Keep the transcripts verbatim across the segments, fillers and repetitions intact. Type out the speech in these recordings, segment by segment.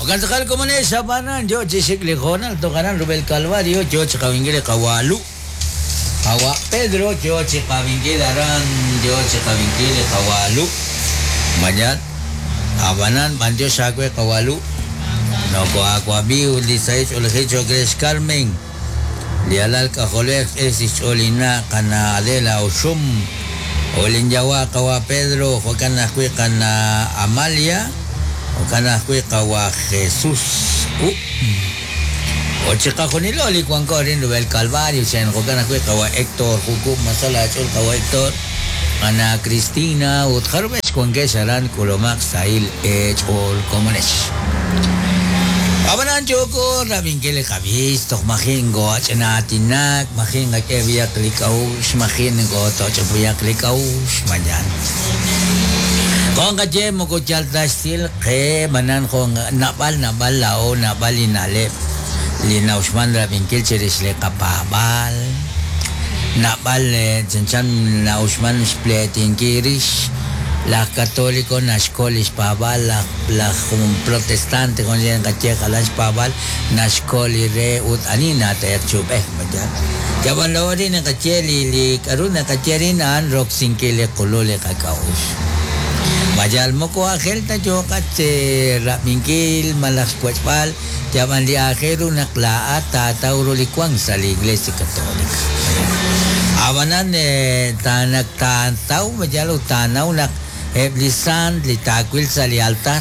Okantzakal komunex abanan yo chixik li jonal tokaran Rubel Calvario yo chikawingil kawalu Kawa Pedro yo chikawingil aran yo chikawingil kawalu Mañan abanan banjo shakwe kawalu no ko akwabi uli saich ulhicho Grace Carmen lialal kajolek es icholina kana Adela Oshum Olinyawa kawa Pedro Jokana kana Amalia Okana kawa Jesús U Ochikajonilo likuankorin Rubel Calvario Chen Jokana kawa Héctor Jukum Masala Chol kawa Héctor Ana Cristina Utjarbesh Kuangesharan Kulomak Sail Ech Ol Komonesh Abanan joko rabingkele kabis tok mahingo achnatinak mahinga kebia klikaus mahingo tochpuya klikaus mañan Kung kaje mo ko chaltastil ke manan kong nabal nabal lao nabal inalep linausman rabingkil chiris le kapabal nabal chanchan nausman spletin kirish la católico nashkolis pabal la la protestante con yen kache kalas pabal nashkoli re ut anina te chubeh majan jaban lori na kache li li karuna kache an roxinkele kolole kakaus Mayal moko ajel ta yo kache rapinkil malas puechpal jaban li ajeru naklaa ta tauro likuang sa la Iglesia Católica Abanan tanak tantau mayal utanau nak Eblisan litakwil sa li altar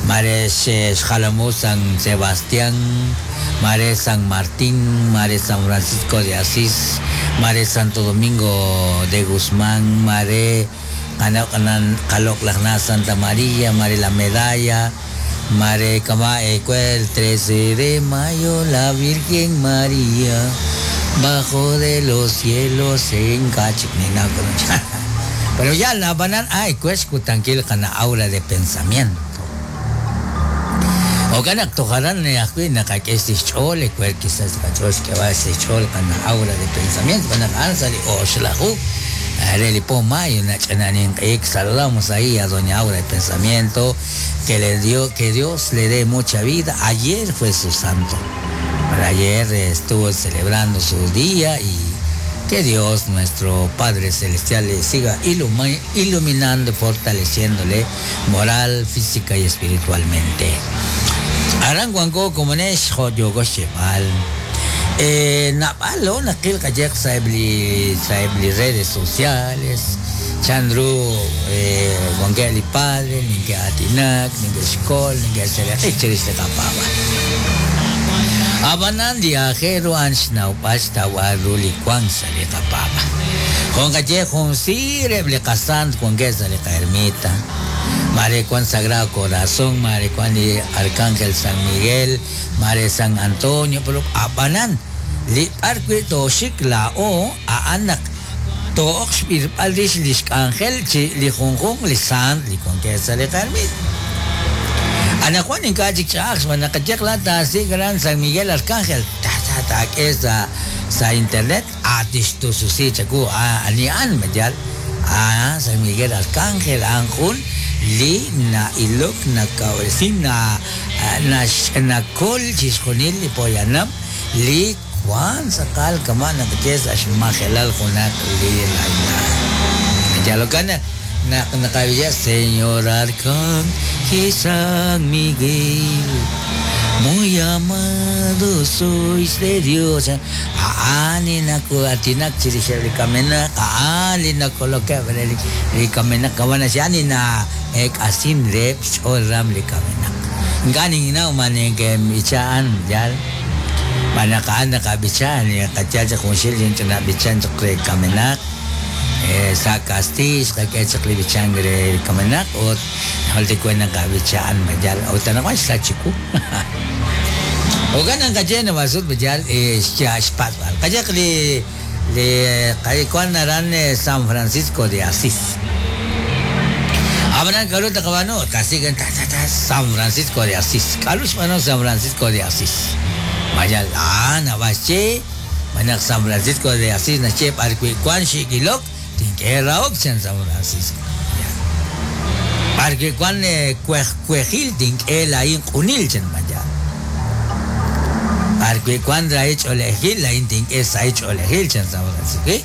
Mare Xalamu San Sebastián Mare San Martín Mare San Francisco de Asís Mare Santo Domingo de Guzmán Mare Kalok Santa María Mare la Medalla Mare Kama el trece de mayo la Virgen María bajo de los cielos en Kachiknina. Pero ya la banan ay pues kutangkil kana aura de pensamiento. O kanak tokaran ni akwi nakakestis chole cuer quizás kachos que va ese chol kana aura de pensamiento kanak ansali oshlahu Areli Mayo nachananin ik saludamos ahí a doña Aura de Pensamiento que le dio que Dios le dé mucha vida. Ayer fue su santo. Pero ayer estuvo celebrando su día y que Dios, nuestro Padre Celestial, le siga iluminando y fortaleciéndole moral, física y espiritualmente. Aranguango como nes joyogoshebal. Eh, napalo nakil kajek sa ebli sa ebli redes sociales. Chandru eh wangeli padre ninge atinak ninge skol ninge sele kapaba. Abanan viajero ansnau pasta waruli kwan sale kapaba. Con kaje con sire ble kasan con gesa le ermita. Mare Juan Sagrado Corazón, Mare Juan Arcángel San Miguel, Mare San Antonio, pero abanan li parque toshik la o a anak tox bir lish ángel chi li junjun li san li con que sale ermita. Ana Juan en calle Chax, manacachek la ta gran San Miguel Arcángel, ta ta ta que sa sa internet atistu susi chaku a ani an mayal a San Miguel Arcángel anjun li na ilok na kawesin na na na kol chisjonil li poyanam li Juan sakal kama na kes ashmajelal junak li laina. Ya lo kana na nakabilla Señor Arcángel San Miguel, muy amado sois de Dios. Aani na ko atinak chirishel kamena aali na koloke li kamena kawana siani na ek asin rep chol ram li kamena. Ngani na umane ke ichaan yal manakaan nakabichaan ya kachacha kunsil yung chanabichan chakre kamenak eh sa kastis kay chakle bichangre kamenak o halti ko na kabichaan majal o tanakwa sa chiku. O ganan kaje na masud majal eh siya spatwal kaje li li kay kwan naran San Francisco de Asís. Abran kalu takabano kasi gan ta ta ta San Francisco de Asís. Kalus mano San Francisco de Asís. Mayal ah na bache manak San Francisco de Asís na che parque kwan shikilok tinke raok San Francisco. B'arwi' wan kuej kuejil tink'e laa'in q'unil chan mayal. B'arwi' wan rahil ch'oolejil laa'in tink'e sahil ch'oolejil chan San Francisco.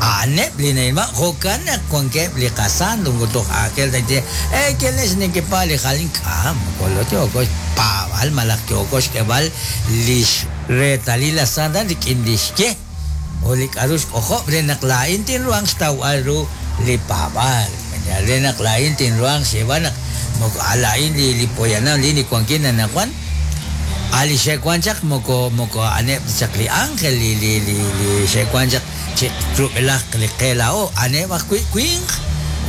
A'aneb' li na'ilman jo'kan naq wankeb' li qasanto toj aajel ta ye eh kelex nekepa li jalin k'am moko yooko xpaab'al malaj yooko xk'eb'al lix reetalil la santa rik'in li xye o li k'a'ru xk'ojob' re naq laa'in tinruhanq xtawb'al ru li paab'al re naq laa'in tinruhanq xyeeb'al naq moko laa'in li li poyanam li wankin anaqwan ali xe'wan chaq moko moko a'aneb' chaq li ángel li li li li xe'wan chaq chi rub'elaj li qe laa'o a'aneb' ajwi' winq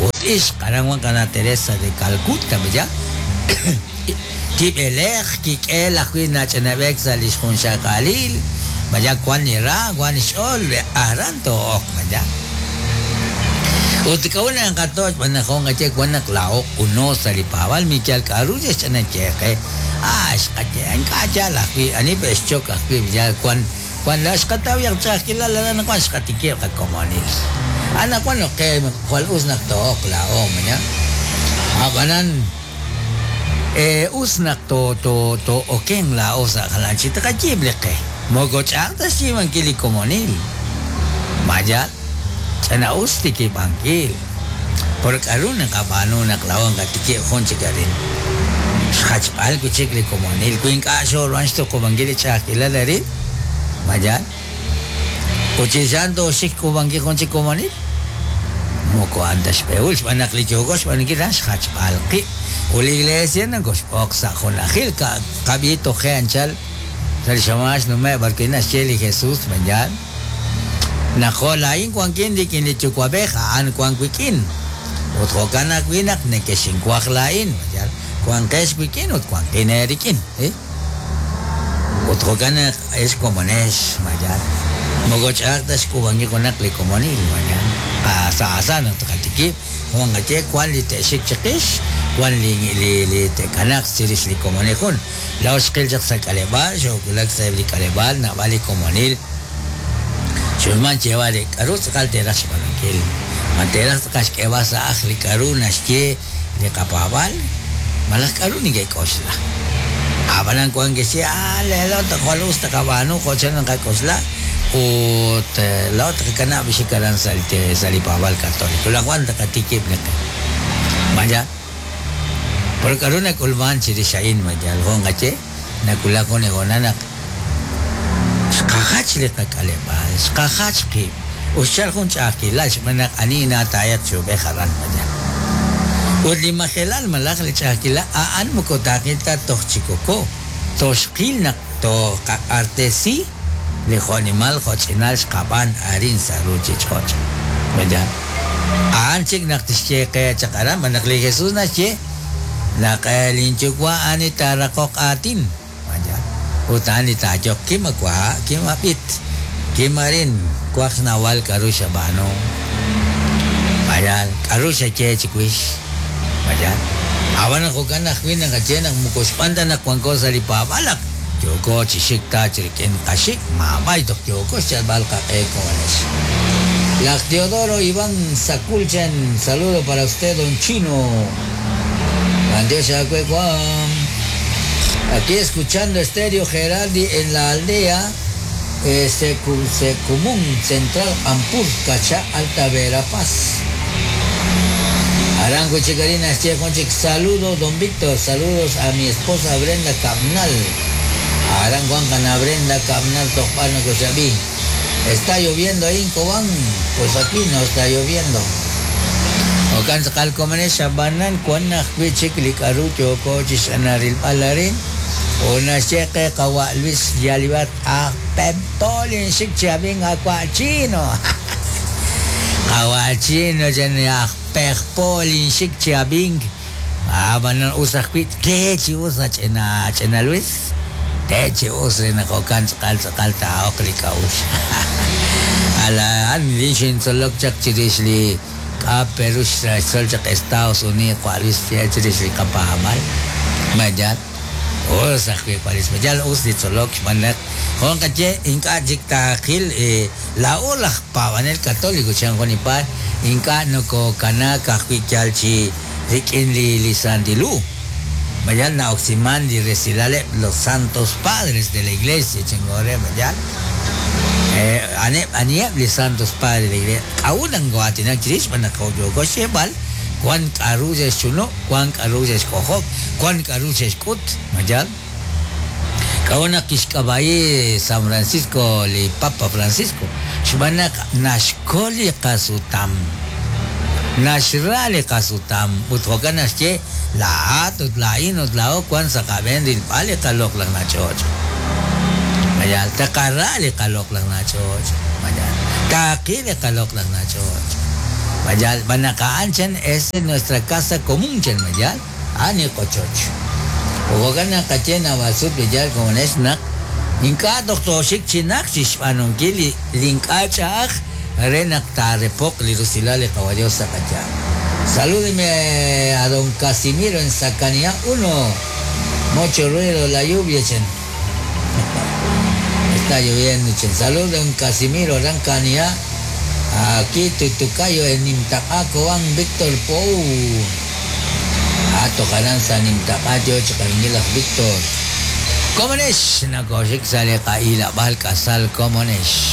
ut ixq aran wan qana Teresa de Calcuta ya kib'elej kik'el ajwi' nach'anab'ek sa' li xjunxaqalil maya wan li ra wan li xch'ool aran to'ok maya ut k'a'ut naqatoch b'an naq jun qaye wan naq laa'o uno sa' li paab'al mikyal k'a'ru xch'anayeqe ah xqaye ink'a' yaal ajwi' ani b'exchok ajwi' ya wan wan la xqataw yaq ch'a'ajkilal aran wan xqatikib' qakomonil anaqwan qe jwal us naq to'oq laa'o maya ab'anan eh us naq to to to oken laa'o sa' jalan chi taqayiib' li qe moko ch'a'aj ta xyiib'ankil li komonil mayal ch'ana us tikib'ankil por k'a'ru naqab'aanu naq laa'o nqatikib' jun chik arin xjachb'al wi' chik li komonil wi ink'a' xooruhan xtuqub'ankil li ch'a'ajkilal arin mayal ut chixan tooxik k'ub'ankil jun chik komonil moko a'an ta xb'ehul xb'aan naq li yooko xb'aanunkil a'an xjachb'al qib' ut li iglesia nakoxb'oq sa' junajil qab'i toje anchal sa' li xamax nume' b'arwi' naxye li Jesús mayal naq jo' laa'in wankin rik'in li yuwa'b'ej a'an wan wik'in ut jo'kan ajwi' naq nekexinwaj laa'in mayal wanqex wik'in ut wanqin eerik'in eh ut jo'kan naq ex komonex mayal moko ch'a'aj ta xk'ub'ankil junaq li komonil mayal sa' asa naq taqatikib' jun qaye wan li te'xik chiqix wan li li li te'kanaq chirix li komonil jun laa'o xqil chaq sa' k'aleb'aal xoowulak sa'eb' li k'aleb'aal naab'al li komonil xulman xyeeb'al re k'a'ru tz'aqal te'raj xb'aanunkil ma te'raj tz'aqal xk'eeb'al sa' aj li k'a'ru naxye li qapaab'al malaj k'a'ru neke'k'oxla ab'anan wan ke'xye ah leelo jwal us taqab'aanu jo' chan naqak'oxla ut laa'o taqakanab' xik aran sa' sa' li paab'al católico laj wan taqatikib' li qe maya por k'a'ru nak'ulman chirix a'in mayal jun qaye nakulak jun honal naq xqajach li qak'aleb'aal xqajach qib' ut xchal jun ch'a'ajkilal xb'aan naq ani naataayaq chub'ej aran maya ut li majelal malaj li ch'a'ajkilal a'an moko taaqil ta toj chikoko toxqil naq toqaq'artesi li jo'nimal jo'ch'inal xqab'an arin sa' ruuchich'och' maya a'an chik naq tixye qe chaq aran b'an naq li Jesús naxye naq linyuwa' a'an li taaraqoq aatin maya ut a'an li taayoq kimawa' kimab'it kimarin waj xnawal k'a'ru xab'aanu mayal k'a'ru xaye chiwix mayal ab'an jo'kan ajwi' naqaye naq moko xb'aan ta naq wanko sa' li paab'al naq yooko chi xik ta chi rik'in qaxik maab'ay toj yooko xyalb'al qaq'e komonex Laj Teodoro Iván Saculchan, saludo para usted, don Chino. Dios Juan. Aquí escuchando Estéreo Gerardi en la aldea eh, Secumún Central Ampur, Cachá, Alta Verapaz. Arango Chicarina, saludos, don Víctor, saludos a mi esposa Brenda Cabnal. Arango Juan Brenda Cabnal, Topano Cochabí. Está lloviendo ahí en Cobán, pues aquí no está lloviendo. Okan sakal komene shabanan kwan ajwi' chik li k'a'ru yooko chix'anarilb'al arin una xyeqe qawa' Luis Yalibat ajpeptolin xik chabin awa' chino qawa' chino chan ajpejpolin xik chabin ab'anan us ajwi' te chi us ach'ina ch'ina Luis te chi us naq okan tz'aqal tz'aqal taa'oq li k'a'uxl ala an li xintzolok chaq chirix li k'a Perú xtzol chaq Estados Unidos wa Luis chirix li qapajamal mayal us ajwi' wa Luis mayal us li tzolok xb'aan naq jun qaye ink'a' chik taaqil laa'o laj paab'anel católico chan jun ipaal ink'a' nokokanaak ajwi' yal chi rik'in li li Santil Hu. Mayal na'oksiman li resilaleb' los santos padres de la iglesia chingore mayal. Eh, aneb aniheb' li santos padres de la iglesia. K'a'ut naq nko'aatinak chirix xb'aan naq yooko xyeeb'al wan k'a'ru xe'xchunu', wan k'a'ru xe'xk'ojob', wan k'a'ru xe'xk'ut, mayal. K'a'ut naq kixk'ab'a'i San Francisco li Papa Francisco xb'aan naq naxkol li qasutam. Naxra li qasutam ut jo'kan naxye laa'at ut laa'in ut laa'o wan sa' qab'een rilb'al li qaloq'laj nach'och'. Mayal, taqara li qaloq'laj nach'och'. Mayal, taqi li qaloq'laj nach'och'. Mayal, b'an naq a'an chan es nuestra casa común chan mayal, a'an li qochoch. Jo'kan naq qaye naab'al sut li yaal komonex naq ink'a' toj tooxik chi naq chixb'aanunkil li li ink'a' ch'a'aj re naq taarepoq li rusilal li Qawa Dios sa' qayaal. Salúdeme a don Casimiro en Sacanía uno. Mucho ruido la lluvia, chen. Está lloviendo, chen. Salud don Casimiro Rancanía. Aquí Tutucayo en Nimtaqá, Cobán, Víctor Pou. Ah, tocarán sa Nimtaqá, yo chiqaringuilas Víctor. Komonex, nakoxik sale qaila bal kasal komonex.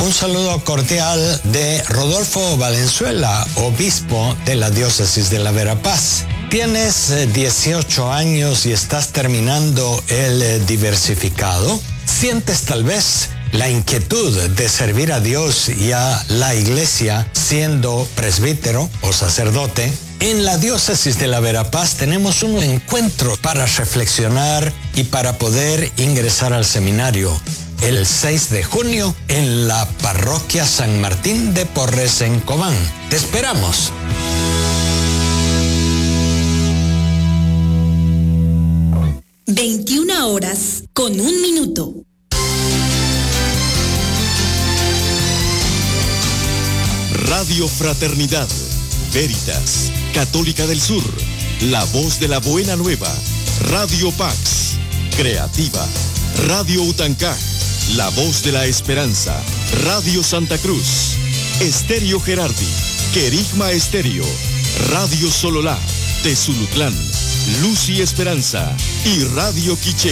Un saludo cordial de Rodolfo Valenzuela, obispo de la diócesis de la Verapaz. ¿Tienes dieciocho años y estás terminando el diversificado? ¿Sientes tal vez la inquietud de servir a Dios y a la iglesia siendo presbítero o sacerdote? En la diócesis de la Verapaz tenemos un encuentro para reflexionar y para poder ingresar al seminario. El seis de junio en la parroquia San Martín de Porres en Cobán. Te esperamos. veintiuna horas con un minuto. Radio Fraternidad, Veritas, Católica del Sur, La Voz de la Buena Nueva, Radio Pax, Creativa, Radio Utancá, La Voz de la Esperanza, Radio Santa Cruz, Estéreo Gerardi, Querigma Estéreo, Radio Sololá, Tezulutlán, Luz y Esperanza y Radio Quiché.